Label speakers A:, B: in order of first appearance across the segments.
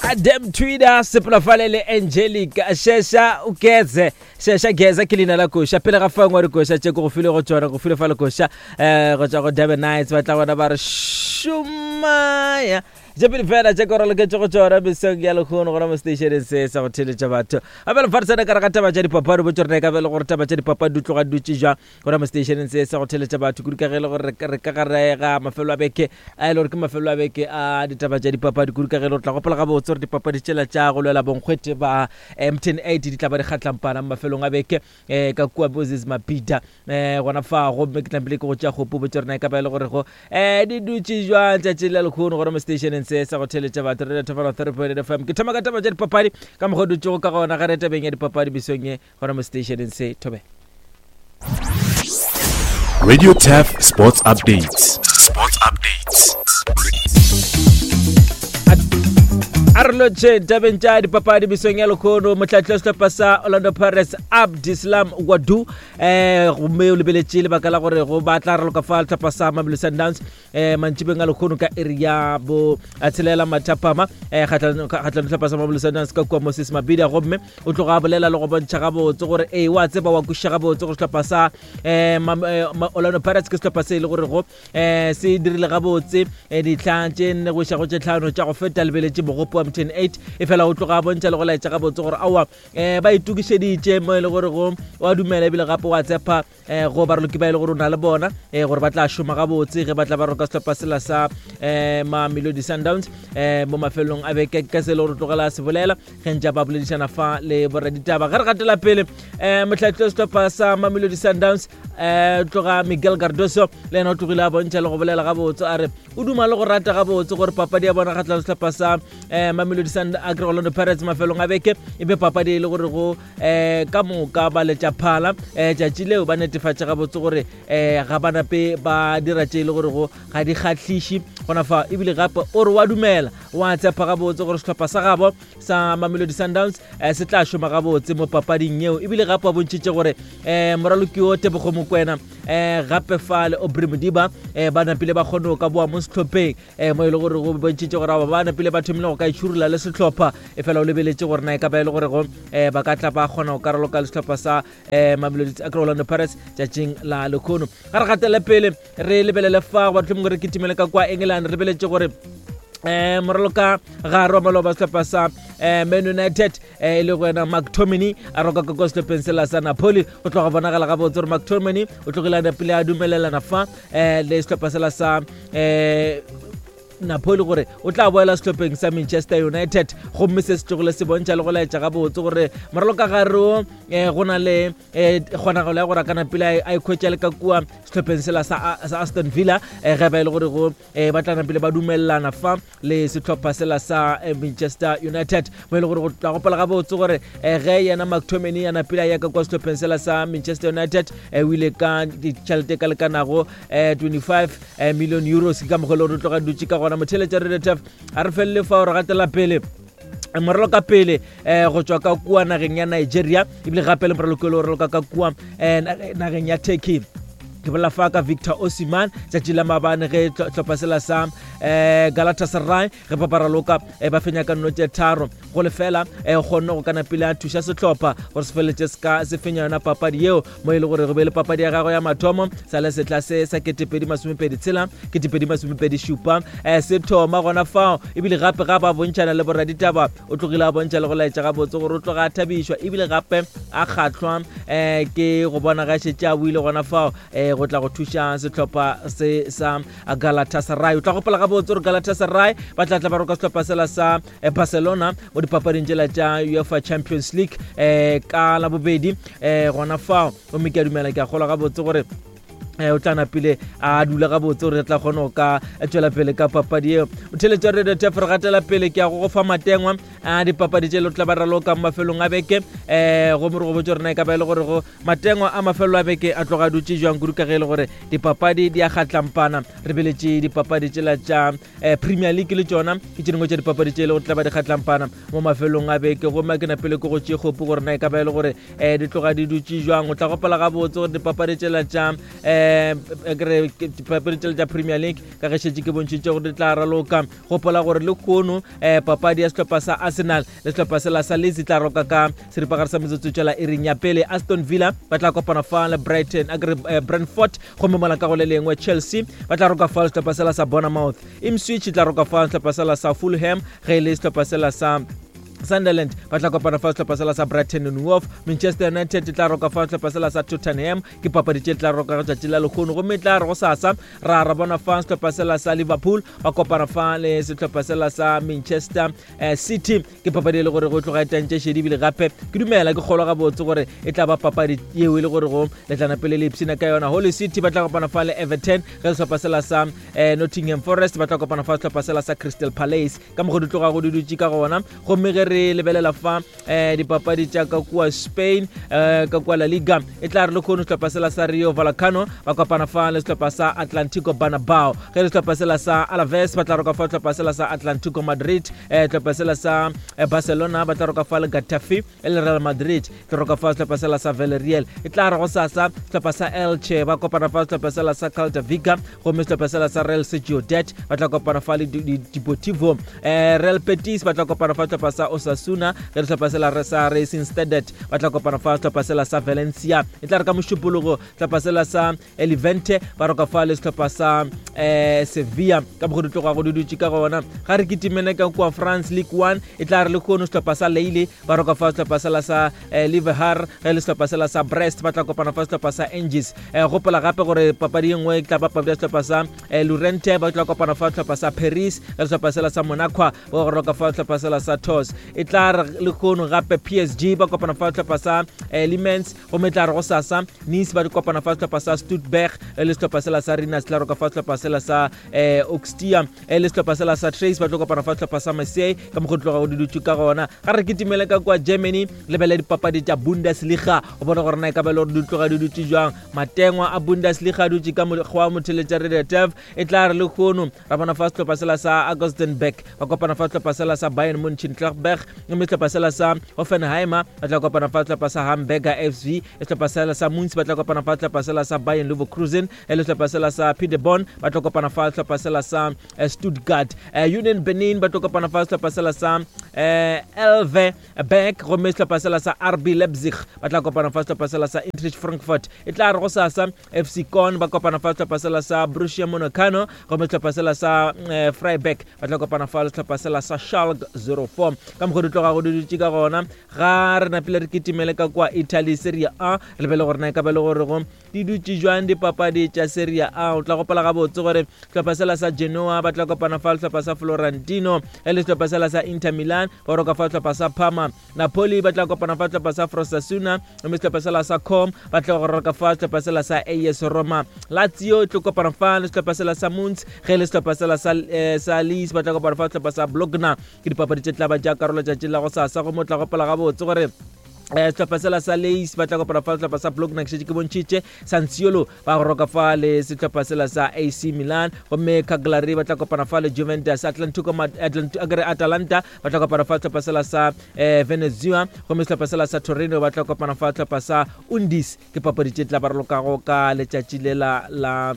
A: Adam Twitter sepela fale le Angelica Shesha Ukeze Shesha Geza ke leina la koša pele ga fangwa dikoša tše ko go file go tšona go file fa le koša eh go tšwa go Durban Nights ba tla bona ba re šomaya tše pedi fela tše ko raloketše go tšona mesong ya lekgono gona mo stationeng se sa go theletša batho gape le fa re tsena ka re ga taba tša dipapadi botse rena e ka be le gore taba tša dipapadi di tloga di dutše jwang gona mo stationeng se sa go theletša batho kudu ka ge e le gore re ka gare ga mafelo a beke a e le gore ke mafelo a beke a ditaba tša dipapadi kudu ka ge e le gore tla gopola gabotse gore dipapadi tšela tša go lwela bonkgwete ba mtn 8 di tla ba di kgatlampana mo mafelong a beke um ka kua moses mabida um gona fa gomme ke tlampile ke go tšea kgopo botse rena e ka ba e le gore go um di dutše jwang tšatši la lekgono gona mo stationeng se sa go theletša batho re thofana 3 fm ke thoma ka taba tša dipapadi ka mokgwa o dutšego ka gona ga re tabeng ya dipapadi mesong ye gona mo stationeng se thobela.
B: Radio Turf Sports Updates. Sports Updates.
A: A re lotšhe tabeng tša dipapadi mesong ya lekgono motlhatli wa sehlopha sa Orlando Pirates Abdeslam Ouaddou um gomme o lebeletše lebaka la gore go ba tla raloka fa sehlopha sa Mamelodi Sundowns um mantšibeng a lekgono ka iri ya bo tshelela mathapama um kgatlhanong sehlopha sa Mamelodi Sundowns ka kua Moses Mabhida gomme o tloga a bolela le go bontšha gabotse gore ee wa tseba wa kwešiša gabotse gore sehlopha sa um Orlando Pirates ke sehlopha se e le gore go um se dirile gabotse ditlhang tše nne go iša go tše tlhano tša go feta lebeletše mogopo wa mtn 8 e fela o tloga a bontšha le go laetša gabotse gore aowa um ba itokišeditše mo e le gore go wa dumela ebile gape wa tshepa um go baraloki ba e le gore o na le bona um gore ba tla šoma gabotse ge ba tla ba roka sehlopha sela sa um Mamelodi Sundowns um mo mafelelong a beke ka se e le gore tlogela se bolela ge ntša ba boledišana fa le boraditaba ge re gatela pele um motlhatli wa sehlopha sa Mamelodi Sundowns um tloga Miguel Cardoso le yena o tlogile a bontšha le go bolela gabotse a re o duma le go rata gabotse gore papadi ya bona kgatlhang sehlopha sa um Mamelodi Sundowns Orlando Pirates mafelong a beke e be papadi e le gore go um ka moka ba letša phala um tšatši leo ba netefatša gabotse gore um ga ba nape ba dira tše e le gore go ga di kgahliše gona fa ebile gape o re wa dumela wa tshepa gabotse gore sehlopha sa gabo sa Mamelodi Sundowns um se tla šoma gabotse mo papading yeo ebile gape wa bontšhitše gore um moraloki o Tebogo Mokwena um gape fa le Aubrey Modiba um ba napile ba kgone go ka boa mo sehlopheng um mo e le gore go bontšhitše gore ba napile ba thomile go ka itšhurola le sehlopha e fela o lebeletše gore na e ka ba e le gore go um ba ka tla ba kgona go karoloka le sehlopha sa um Mamelodi Orlando Pirates tšatšing la lekhono ga re gatele pele re lebelele fa goba tlhomongwe re kitimele ka kwa England re lebeletše gore um moraloka gare wa maloba sehlopha sa um Man United e le go yena McTominay a roka ka kwa sehlopheng sela sa Napoli go tloga bonagala gabotse gore McTominay o tlogile a pele a dumelelana fa um le sehlopha sela sa um Napoli gore o tla boela sehlopheng sa Manchester United gomme se se tlogile se bontšha le go laetša gabotse gore moraloka gare o um go na le um kgonagalo ya gore a kana pele a ikhwetša le ka kua sehlopheng sela sa Aston Villa um ge ba e le gore go um ba tla napile ba dumelelana fa le sehlopha sela sa eh, Manchester United mo e le gore go tla gopola gabotse gore eh, ge yena McTominay ya napile a ya ka kwa sehlopheng sela sa Manchester United eh, o ile ka ditšhelete ka lekanago 25 million euros ke ka mokgwa e le gore o tloga dutše ka gona motheletša redetef a re felele fa gore gatela pele moralo ka pele um go tšwa ka kua nageng ya Nigeria ebile gape le moralo ke le raloka ka kua um nageng ya Turkey ke bolela fa ka Victor Osimhen tšatši la maabane ge hlopha sela sa um Galatasaray ge ba baraloka um ba fenya ka nno tše 3 go lefela um kgonne go kana pele a thuša sehlopha gore se feletše se fenya yona papadi yeo mo e le gore go be le papadi ya gagwe ya mathomo sa le setla se sa 2026 2027 um se thoma gona fao ebile gape ga ba bontšhana le boraditaba o tlogile a bontšha le go laetša gabotse gore o tloga a thabišwa ebile gape a kgahlwa um ke go bona ga šetše a buile gona fao um go tla go thuša sehlopha se sa Galatasaray o tla gopola gabotse gore Galatasaray ba tla tla ba roka sehlopha sela sa eh, Barcelona mo dipapading tšela tša UEFA Champions League um ka labobedi um gona fao gomme ke a dumela ke a kgolwa gabotse gore Eh, o tla napile a dula gabotse gore re tla kgone go ka tšwela pele ka papadi eo o theletša radio tef re gatela pele ke ya go go fa matengwa a dipapadi tše le tla ba raloka mo mafelong a beke um gomme re go botse gore na e ka ba e le gore go matengwa a mafelo a beke a tloga dutše jwang kudu ka ge e le gore dipapadi di a kgatlampana re beletše dipapadi tšela tša eh, Premier League le tšona ke tše dingwe tša dipapadi tše e le gore tla ba di kgatlampana mo mafelong a beke gomme ke napele ke go tše kgopo gore na e ka ba e le gore um di tloga di dutše jwang o tla gopola gabotse gore dipapadi tšela tša um um dipapadi tšele tša Premier League ka ge šetše ke bontšhitše gore di tla raloka. Gopola gore le kono um papadi ya sehlopha sa Arsenal le sehlopha sela sa Leeds e tla roka ka seripagare sa metsotso tšela iring ya pele. Aston Villa ba tla kopana fa le Brighton akere eh, Brentford, gomme mola ka go le lengwe Chelsea ba tla roka fa le sehlopha sela sa Bournemouth. Ipswich e tla roka fa le sehlopha sela sa Fulham, ge e le sehlopha sela sa Sunderland ba tla kopana fa sehlopha sela sa Brighton and Hove. Manchester United e tla roka fa sehlopha sela sa Tottenham. Ke papadi tše tla roka tšatši la lehono, gomme e tla re go sasa ra ra bona fa sehlopha sela sa Liverpool ba kopana fa le sehlopha sela sa Manchester eh, City. Ke papadi e le gore go tloga e tantše šedi, ebile gape ke dumela ke kgolwa gabotse gore e tla ba papadi yeo e le gore go letlana pele le ipshina ka yona. Holy City ba tla kopana fa le Everton, ge sehlopha sela sa eh, Nottingham Forest ba tla kopana fa sehlopha sela sa Crystal Palace. Ka mokgo di tloga go di dutše ka gona. Gomme ge re lebelela fa eh, dipapadi tša ka kua Spain, eh, ka kua La Liga, e tla re le kgono sehlopha sela sa Rio Vallecano ba kopana fa le sehlopha sa Atlantico Banabao, ge le sehlopha sela sa Alaves ba tla roka fa sehlopha sela sa Atlantico Madrid, eh, sehlopha sela sa eh, Barcelona ba tla roka fa le Getafe, e le Real Madrid tlo roka fa sehlopha sela sa Villarreal. E tla re go sasa sehlopha sa Elche ba kopana fa sehlopha sela sa Celta Vigo, gomme sehlopha sela sa Real Sociedad ba tla kopana fa le Deportivo. Real Betis ba tla kopana fa sehlopha sa Osasuna, ge sehlopha sela sa Racing Standard ba tla kopana fa sehlopha sela sa Valencia. E tla re ka Mošupologo sehlopha sela sa Levante ba roka fa le sehlopha sa Sevilla. Ka mokgo di tloga go di dutše ka gona. Ga re kitimene ka kua France League 1, e tla re le kgono sehlopha sa Lille ba roka fa sehlopha sela sa Liverpool, ge le sehlopha sela sa Brest ba tla kopana fa sehlopha sa Angers. Gopola gape gore papadi ye nngwe e tla ba papadi ya sehlopha sa Lorient ba tla kopana fa sehlopha sa Paris, ge sehlopha sela sa Monaco ba go roka fa sehlopha sela sa Tours. E tla re le kgono gape PSG ba kopana fa sehlopha sa Limens, gomme e tla re go sasa Nice ba kopana fa sehlopha sa Stuttgart, le sehlopha sela sa Rennes tla roka fa sehlopha sela sa Auxerre, le sehlopha sela sa Trace ba tlo kopana fa sehlopha sa Marseille. Ka mokgo tloga go dudutše ka gona. Ga re kitimele ka kua Germany, lebele dipapadi tša Bundesliga go bona gore na e ka ba le gore di tloga di dutše jwang. Matengwa a Bundesliga a dutše ka mokgwa wa motheletša Radio Turf. E tla re le kgono ra bona fa sehlopha sela sa Augustenburg ba kopana fa sehlopha sela sa Bayern Mönchengladbach, mme sehlopha sela sa Hoffenheimer ba tla kopana fa sehlopha sa Hamburger SV, sehlopha sela sa Munz ba tla kopana fa sehlopha sela sa Bayern Leverkusen, le sehlopha sela sa Paderborn ba tla kopana fa sehlopha sela sa Stuttgart. Union Berlin ba tlo kopana fa sehlopha sela sa Elve Berg, gomme sehlopha sela sa RB Leipzig ba tla kopana fa sehlopha sela sa Eintracht Frankfurt. E tla re go sasa FC Köln ba kopana fa sehlopha sela sa Borussia Monacano, gomme sehlopha sela sa Freiburg ba tla kopana fa sehlopha sela sa Schalke 04. Ka mokgwa di tloga go di dutše ka gona. Ga re napile re kitimele ka kua Italy Serie A, re lebele gore na e ka ba le gore go di dutše jwang dipapadi tša Serie A. O tla gopola gabotse gore sehlopha sela sa Genoa ba tla kopana fa sehlopha sa Florentino, e le sehlopha sela sa Inter Milan ba roka fa sehlopha sa Parma. Napoli ba tla kopana fa sehlopha sa Frosinone, mme sehlopha sela sa Com ba tla go roka fa sehlopha sela sa AS Roma. Lazio e tlo kopana fa le sehlopha sela sa Munz, ge le sehlopha sela sa sa Leeds ba tla kopana fa sehlopha sa Bologna. Ke dipapadi tše tla ba tša karolo tšatši la go sasa, gomme o tla gopola gabotse gore sehlopha sela sa Leis ba tla kopana fa sehlopha sa Bologna, ke šetše ke bontšhitše. Sassuolo ba go roka fa le sehlopha sela sa AC Milan, gomme Cagliari ba tla kopana fa le Juventus. Atlantico akere Atalanta ba tla kopana fa sehlopha sela sa Venezia, gomme sehlopha sela sa Torino ba tla kopana fa sehlopha sa Undis. Ke papadi tše tla ba ralokago ka letšatši le la la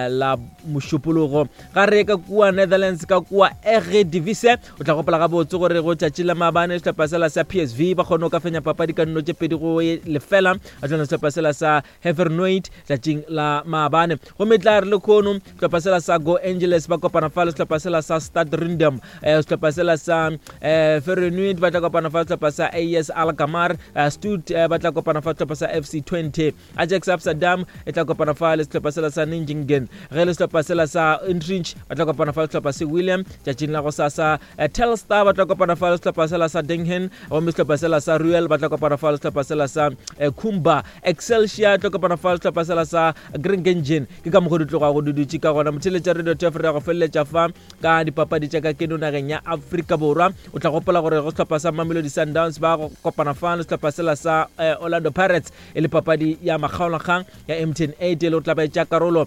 A: la Mošupologo. Ga re ka kua Netherlands, ka kua Eredivisie, o tla gopola gabotse gore go tšatši la maabane sehlopha sela sa PSV ba kgone go ka fenya papadi ka nno tše 2-0 kgahlano sehlopha sela sa Hevernoid tšatšing la maabane. Gomme tla re le khono sehlopha sela sa Go Angeles ba kopana fa le sehlopha sela sa Stad Rindam, sehlopha sela sa Feyenoord ba tla kopana fa sehlopha sa AS Alkmaar, Stud ba tla kopana fa sehlopha sa FC 20, Ajax Amsterdam e tla kopana fa le sehlopha sela sa Nijmegen, ge le sehlopha sela sa Utrecht ba tla kopana fa le sehlopha se William tšatšing la go sasa. Telstar ba tla kopana fa le sehlopha sela sa Dinghen, gomme sehlopha sela sa Ruel ba tla kopana fa le sehlopha sela sa Kumba. Excelsior tlo kopana fa le sehlopha sela sa Grengengen. Ke ka mokgo di tlogago di dutše ka gona. Motheletša Radio Turf re ya go feleletša fa ka dipapadi tša ka keno nageng ya Afrika Borwa. O tla gopola gore go sehlopha sa Mamelodi Sundowns ba go kopana fa le sehlopha sela sa Orlando Pirates e le papadi ya makgaolakgang ya MTN 8 e le go tla ba etša karolo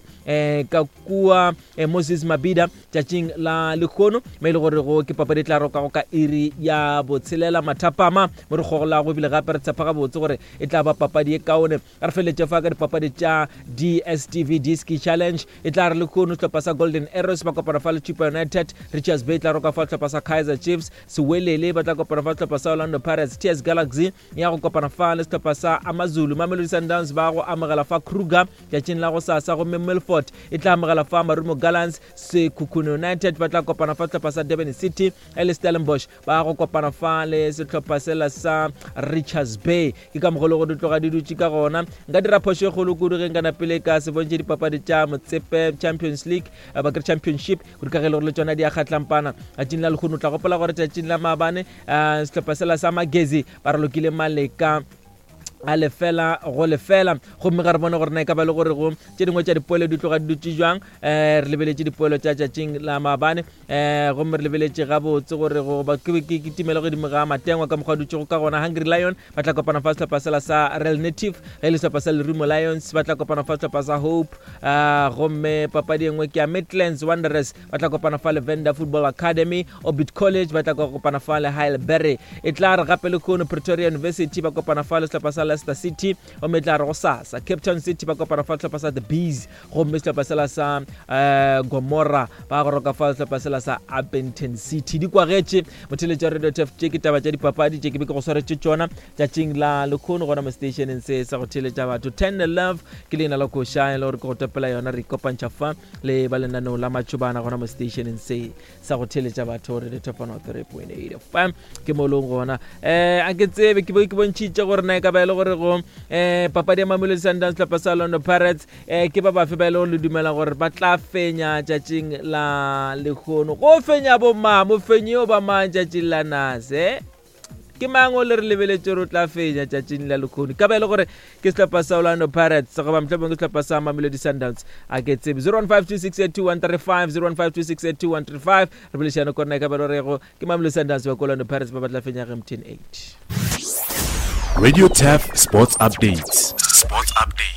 A: ka kua Moses Mabhida tšatšing la lekgono, me e le gore go ke papadi e tla rokago ka iri ya botshelela mathapama mo re kgogolago. ebile gape re tshepa gabotse gore e tla ba papadi ye kaone. Re feleletše fa ka dipapadi tša DStv Diski Challenge. E tla re lehono sehlopha sa Golden Arrows ba kopana fa le Chippa United, Richards Bay tla roka fa sehlopha sa Kaizer Chiefs, Sewelele ba tla kopana fa sehlopha sa Orlando Pirates, TS Galaxy ya go kopana fa le sehlopha sa Amazulu, Mamelodi Sundowns ba go amogela fa Kruger tšatšing la go sasa, gomme Milford e tla amogela fa Marumo Gallants, Sekhukhune United ba tla kopana fa sehlopha sa Durban City le Stellenbosch ba go kopana fa le sehlopha sela sa Richards Bay. Ke ka mogolo go di tloga di dutše ka gona. Nka dira phošo e kgolo kudu ge nka napele ka se bontšhe dipapadi tša Motsepe Champions League eh, ba kere Championship kudu ka ge e le gore le tšona di a kgatlampana tšatšing la lehono. Tla gopola gore tšatšing la maabane eh, sehlopha sela sa Magezi ba ralokile Maleka a lefela go lefela, gomme ga re bone gore na e ka ba le gore go tše dingwe tša dipoelo di tloga di dutše jwang. Um re lebeletše dipoelo tša tšatšing la maabane, um gomme re lebeletše gabotse gore goba ke timele godimo ga matengwa ka mokgwa dutšego ka gona. Hungry Lion ba tla kopana fa sehlopha sela sa Real Native, ge e le sehlopha sa Lerumo Lions ba tla kopana fa sehlopha sa Hope, um gomme papadi e nngwe ke ya Midlands Wanderers ba tla kopana fa le Venda Football Academy. Orbit College ba tla kopana fa le Heidelberg. E tla re gape le khono Pretoria University ba kopana fa le sehlopha sa Leicester City, gomme e tla re go sasa Cape Town City ba kopana fa sehlopha sa The Bees, gomme sehlopha sela sa uh, Gomora ba goroka fa sehlopha sela sa Upington City. Di kwagetše motheletša wa Radio Tef, tše ke taba tša dipapadi tše ke be ke go swaretše tšona tšatšing la lekhono gona mo stationeng se sa go theletša batho. Tender Love ke leina la koša e le gore ke go topela yona. Re ikopantšha fa le ba lenaneo la matšhobana gona mo stationeng se sa go theletša batho re le top 103.8 FM ke mo leng gona. Um a ke tsebe ke ke bontšhitše gore na e ka ba e le gore go um papadi ya Mamelodi Sundowns sehlopha sa Orlando Pirates um ke ba bafe ba e le gore le dumela gore ba tla fenya tšatšing la lehono. Go fenya bomang, mofenyi o ba mang tšatšing la nase? Ke mang o le re lebeletše gore o tla fenya tšatšing la lekgono? Ka ba e le gore ke sehlopha sa Orlando Pirates goba mohlomongwe ke sehlopha sa Mamelodi Sundowns, a ke tsebe. 0152682135, 0152682135, re boledišane korena e ka ba e le gorego ke Mamelodi Sundowns ba ko Orlando Pirates ba ba tla fenya ge MTN 8.
B: Radio Turf Sports Updates. Sports Updates.